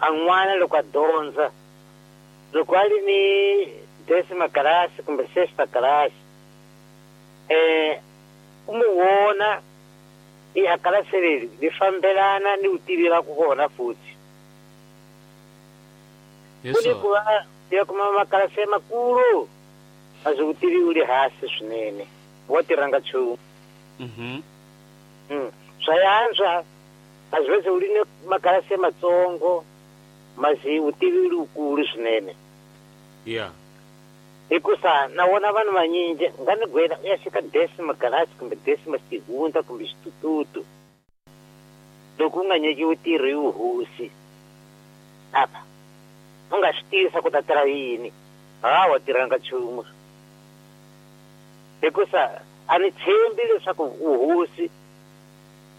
A n'wana loko a dyondza loko a ri ni décima classe kumbe sexta classe u mu vona i a kalasi leri ri fambelana ni vutivi ra ku kona futhi. Hi Ku ni ku swona. va ya kuma makalasi ya makulu a swi vutivi u le hansi swinene wa tirhanga nchumu. Swa yantswa a swi vese u ri ni makalasi ya matsongo masi vutivi u ri vukulu swinene. Ya. Hikusa na vona vanhu vanyingi nga ni gwela u ya fika décima classe kumbe décima segunda kumbe xitututu loko u nga nyikiwi ntirho hi vuhosi apha u nga swi tivisa ku ta tirha yini hawa tirhanga nchumu hikusa a ni tshembi leswaku vuhosi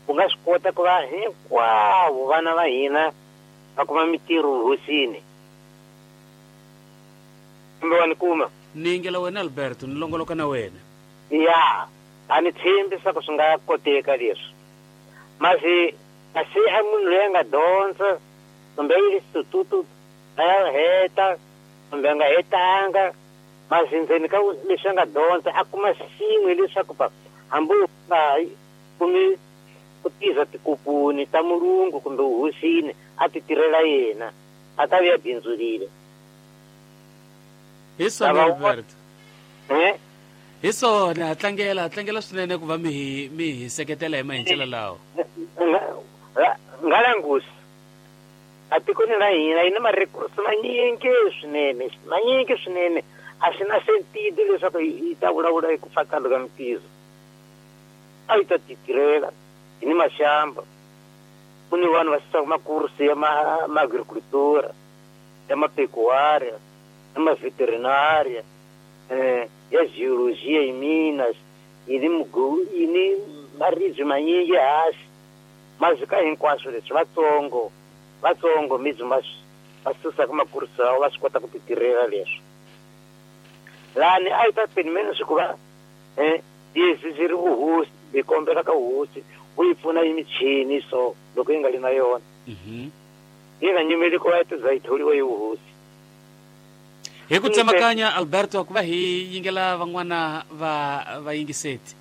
u nga swi kota ku va hinkwavo vana va hina va kuma mitirho vuhosini kumbe wa ni kuma. Ni yingela wena Alberto, ni longoloka na wena. Ya, a ni tshembi swa ku swi nga koteka leswi. Masi kasi a munhu loyi a nga dyondza kumbe a yile xitututu a ya heta kumbe a nga hetanga masi ndzeni ka leswi a nga dyondza a kuma xin'we leswaku pa hambi u nga kumi ku tirha tikoponi ta mulungu kumbe vuhosini a ti tirhela yena a ta vuya bindzurile. Hi swona Lava Alberto. Eh? Hi swona ha tlangela ha tlangela swinene ku va mi hi mi hi seketela hi mahincelo lawa. Nga langusi a tikweni ra hina yi ni marekursi manyingi swinene manyingi swinene a swi na sentidi leswaku yi ta vulavula hi ku fakalo ka mintirho a yi ta titirhela hi ni maxamba ku ni vanhu va susaka makursi ya ma agricultura ya mapecuária ya maveterinaria ya geologia yi minas yi ni yi ni maribye manyingi hansi mazika hinkwaswo leswi vatsongo vatsongo mibyi va va susaka makursi lawa va swi kota ku titirhela leswi lani a yi ta pimeni swi ku va yezi byi ri vuhosi hi kombela ka vuhosi u yi pfuna yi michini so loko yi nga li na yona yi nga nyimeli ku va yi za yi tholiwa yi vuhosi. Hi ku tsemakanya Alberto ku va hi yingela van'wana va vayingiseti.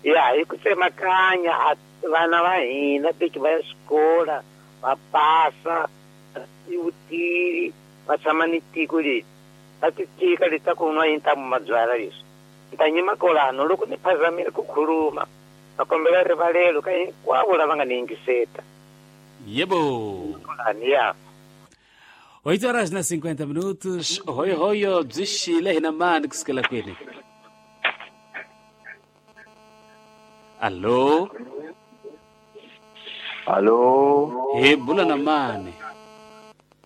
Ya hi ku tsemakanya vana va hina teki va ya xikola va pasa i vutivi va tshama ni tiko leri va ti tika leti ta ku nwa yi ntamu mabyala leswi ni ta nyima kolano loko ni phazamile ku khuluma va kombela rivalelo ka hinkwavo lava nga ni yingiseta. Yebo. Kolani ya. 8 horas na 50 minutos. Hoyo hoyo byi xile hina mani kusukela kwini? Allo. Allo. Hi bula na mani?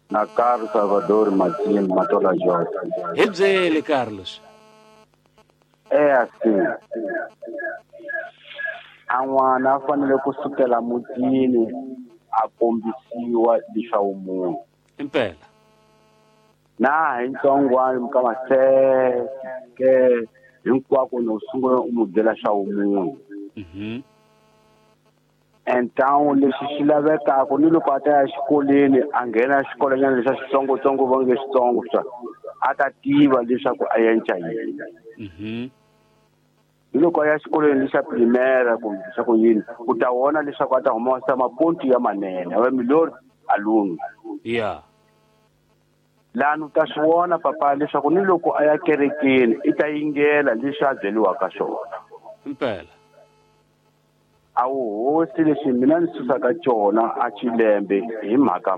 Na Carlos Salvador Martin Matola Jorge. Hi byele Carlos. É assim. A n'wana a fanele ku sukela mutini a kombisiwa leswaku munhu. Impela. Na hi ntsongwana mi kama se ke hinkwako no sungula u n'wi byela swa vumunhu. Então lexi xi lavekaka ni loko a ta ya xikolweni a nghena xikolonyana lexa xitsongotsongo va nge xitsongo swa a ta tiva leswaku a yenca yini. Ni loko a ya xikolweni lexa primera kumbe leswaku yini u ta vona leswaku a ta humesa mapontu ya manene a va melhor aluno. Yeah. Lani u ta swi vona papa leswaku ni loko a ya kerekeni i ta yingela leswi a byeriwaka swona. Impela. A wu hosi lexi mina ni susaka cona a xilembe hi mhaka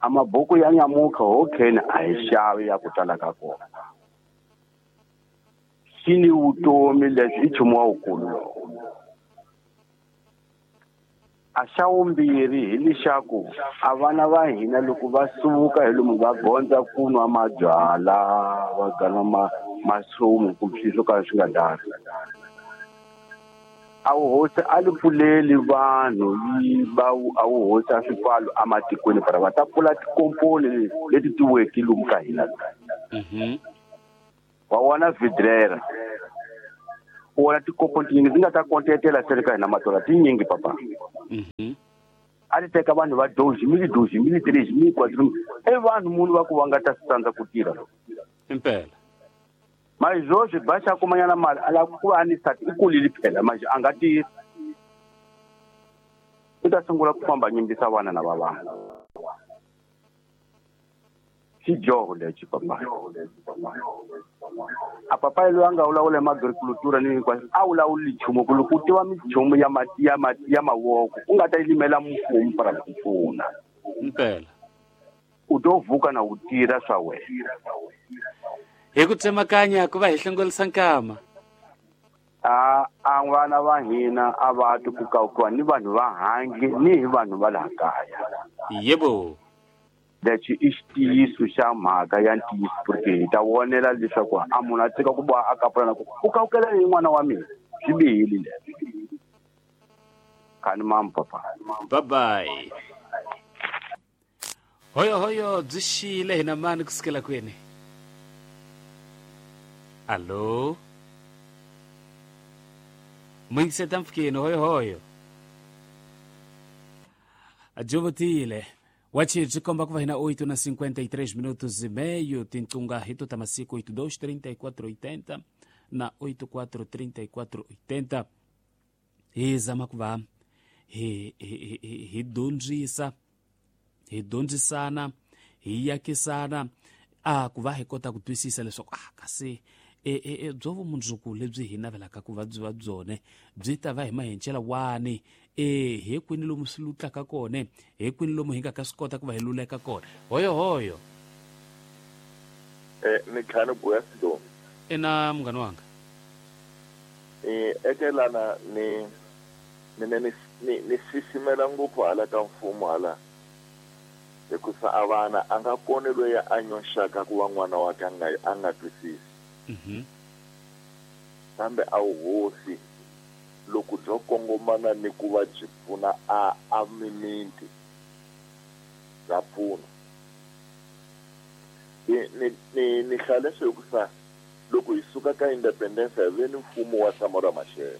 a mabuku ya nyamuka hokheni a hi xavi ya ku tala ka kona. Xi ni vutomi lebyi i nchumu wa wukulu lowu. A xa vumbirhi hi lexaku a vana va hina loko va suka hi lomu va gondza ku nwa mabyalwa va gana masumu kumbe swilo swo ka swi nga dari. A wuhosi a li pfuleli vanhu yi va a wuhosi a swipfalo ematikweni para va ta pfula tikomponi leti tiweke lomu ka hina. Wa vona vidrera. U vona tikomponi tinyingi ti nga ta kontetela se le ka hina matola tinyingi papa. A ti teka vanhu va 2000, 2000, 3000, 4000. I vanhu munhu va ku va nga ta tsandza ku tirha. Impela. Mas hoje baixa kumanyana mali ala ku va ni sati i kulile phela manje a nga tirhi. I ta sungula ku famba nyimbisa vana na va vanhu. Xidyoho lexi papa. A papa loyi a nga vulavula hi agricultura ni hinkwaswo a vulavuli nchumu ku loko u tiva minchumu ya ya mavoko u nga ta yi limela mfumo para ku pfuna. Impela. U to vuka na u tirha swa wena. Hi ku tsemakanya ku va hi hlongolisa nkama. A vana va hina a va twi ku kawukiwa ni vanhu va handle ni hi vanhu va laha kaya. Yebo. Lexi i xitiyiso xa mhaka ya ntiyiso porque hi ta vonela leswaku a munhu a tshika ku boha a kapula na ku u kawukela ni n'wana wa mina swi bihile leswi. Khani mamu papa. Bye bye. Hoyo hoyo byi xile hina mani kusukela kwini? Allo. Muyingiseta mpfukeni hoyo hoyo. Ajovotile. Wachi byi komba ku va hina 8:53 minutos e meio tintunga hito ta masiku 82 34 80 na 84 34 80. Hi zama ku va hi dyondzisa, hi dyondzisana, hi yakisana a ku va hi kota ku twisisa leswaku kasi byo vumundzuku lebyi hi navelaka ku va byi va byone byi ta va hi mahencela wani hi kwini lomu swi lutlaka kona, hi kwini lomu hi nga ka swi kota ku va hi luleka kona. Hoyo hoyo. Ni khani buya sido. Ina munghana wanga. Ekelana ni ni sisimela ngopfu hala ka mfumo hala. Hikusa a vana a nga koni loyi a nyoxaka ku va n'wana wa ka a nga twisisi. Kambe a wu hosi loko byo kongomana ni ku va byi pfuna a mimiti bya pfuna. Ni hlaya leswi hikusa loko hi suka ka independence hi ve ni mfumo wa Samora Machel.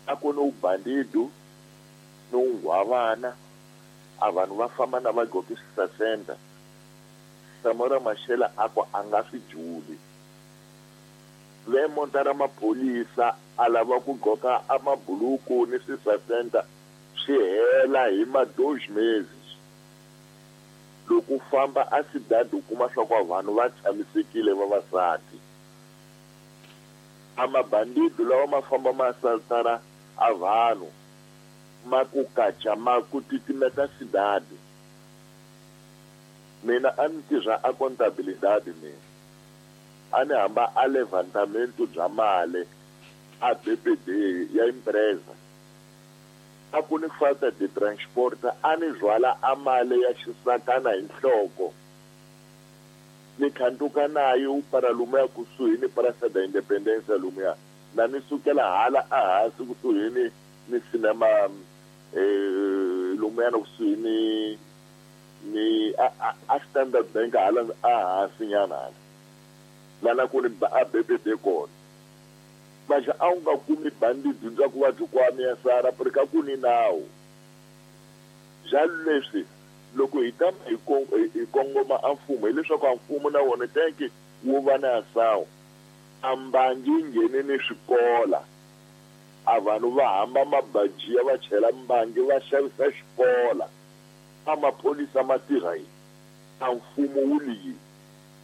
A ku ni ubandido ni unghwavana a vanhu va famba na va gqoke swisasenda. Samora Machel a ku a nga swi juli. Ve monta ra maphorisa a lava ku gqoka a mabuluku ni swisasenda swi hela hi ma 2 meses. Loko u famba a sidadi u kuma swa ku vanhu va tshamisekile vavasati. A mabandido lawa ma famba ma saltara a vanhu ma ku kacha ma ku titimeta sidadi. Mina a ni tirha a contabilidade mina. A ni hamba a levantamento bya mali a BPD ya empresa. A ku ni falta de transport a ni rhwala a mali ya xisakana hi nhloko. Ni khanduka nayo para lumuya kusuhi ni Praça da Independência lumuya. Na ni sukela hala a hansi kusuhi ni cinema lumuya na kusuhi ni a Standard Bank hala a hansi nyana hala. Lana ku ni a BPD kona. Mas a wu nga kumi bandidi bya ku va byi kwame ya sara ka ku ni nawu. Jalo leswi loko hi tama hi kongoma a mfumo hileswaku a mfumo na wona tenke wu va na sawu. A mbangi yi nghene ni swikola. A vanhu va hamba mabajiya va chela mbangi va xavisa xikola. A maphorisa ma tirha yini? A mfumo wu li yini?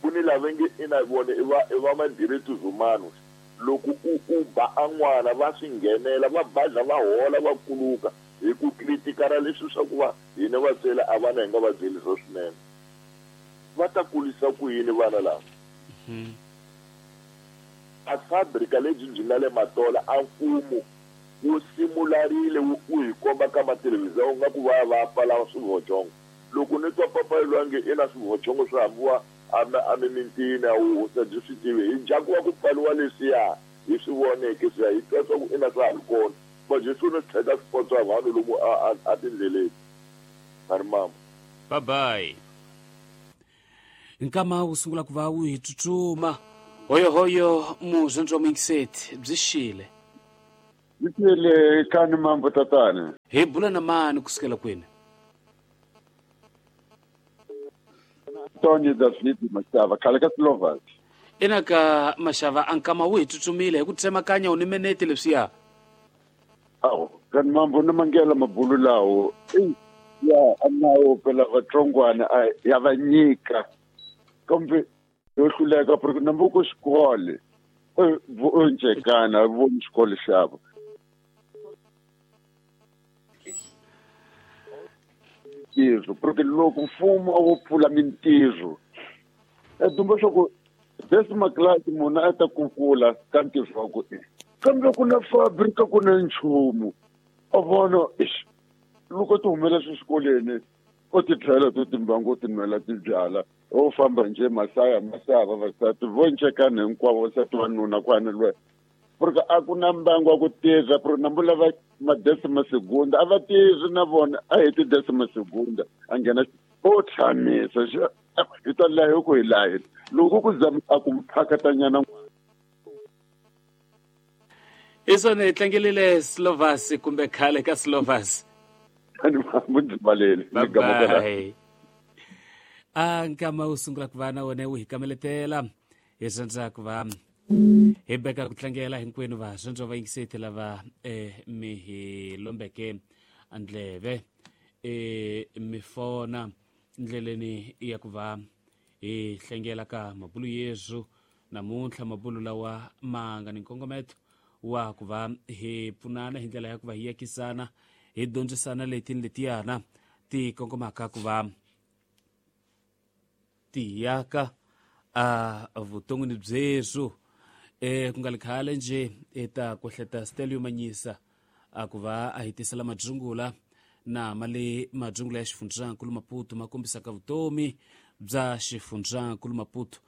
Ku ni lava nge ina vona i va ma-direitos humanos. Loko u ba a n'wana va swi nghenela va badla va hola va kuluka hi ku kritikara leswi swa ku va hina vatsweri a vana hi nga va byeli swa swinene. Va ta kulisa ku yini vana lava? A fabrika lebyi byi nga le Matola a mfumo wu simularile wu hi komba ka mathelevhizha nga ku va va pfala swivochongo. Loko ni twa papa lwange ina swivochongo swi hambiwa a mimintini a wu hosa byi swi tivi hi ndzhaku wa ku pfaliwa leswiya hi swi voneke swiya hi twa swa ku ina swa ha ri kona. Manje swi ni tlhela swi potswa vanhu lomu a tindleleni. Mari mama. Bye bye. Nkama wu sungula ku va wu hi tsutsuma. Hoyo hoyo muzondzo wa muyingiseti byi xile. Ndzi kani mambo tatana. Hi bula na mani kusukela kwini? Tony David Mashava, khale ka Slovak. Ina ka Mashava a nkama wu hi tsutsumile hi ku tsemakanya u ni menete leswiya. Awu, kani mambo ni mangela mabulu lawo. Ya anawo phela vatsongwana ya va nyika. Kambe yo hluleka porque nambuko xikolo. Voncekana voni xikolo xavo. Ntirho porque loko mfumo a wo pfula mintirho dumba swa ku decimal class munhu a ta kukula ka ntirho wa ku kambe ku na fabrika ku na nchumu a vona loko ti humela swixikolweni u ti tlhela to timbangu ti nwela tibyala o famba nje masaya masaya vavasati voncekana hinkwavo vasati wanuna kwana lwe porque a ku na mbangu wa ku tirha porque nambu lava madecima segunda a va tirhi na vona a hi tidecima segunda a nghena o tshamisa hi ta laha ku hi laha loko ku zama a ku phakatanyana. Isona hi tlangelile Slovas kumbe khale ka Slovas. Bye. A nkama wu sungula ku va na wona wu hi kameletela hi rhandza ku va hi beka ku tlangela hinkwenu va rhandza va yingiseti lava mi hi lombeke ndleve mi fona ndleleni ya ku va hi hlengela ka mabulu yesu namuntlha mabulu lawa ma nga ni nkongometo wa ku va hi pfunana hi ndlela ya ku va hi yakisana hi dyondzisana leti ni letiyana ti kongomaka ku va ti yaka a vuton'wini byesu ku nga li khale nje eta ku hleta Stelio Manyisa a ku va a hi tisela madzungula na mali madzungula ya xifundzankulu Maputo ma kombisaka vutomi bya xifundzankulu Maputo.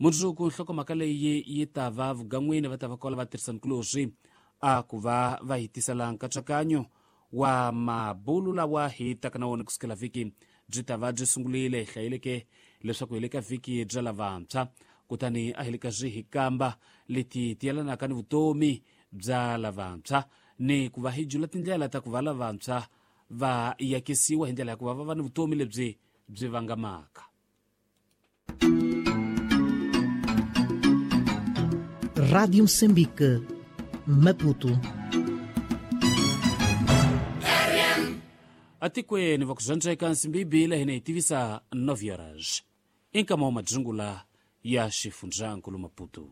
Mundzuku nhlokomhaka leyi yi ta va vugan'wini va ta va kola va tirhisankuloswi a ku va va hi tisela nkatsakanyo wa mabulu lawa hi taka na wona kusukela vhiki byi ta va byi sungurile hi hlayeleke leswaku hi le ka vhiki bya lavantshwa kutani a hi le ka swi hi kamba leti ti yelanaka ni vutomi bya lavantshwa ni ku va hi jula tindlela ta ku va lavantshwa va yakisiwa hi ndlela ya ku va va va ni vutomi lebyi byi vangamaka. Rádio Moçambique, Maputo. Atikweni va ku zwandzeka nsimbibile hina hi tivisa 9 horas i nkama wa madzungula ya xifundzankulu Maputo.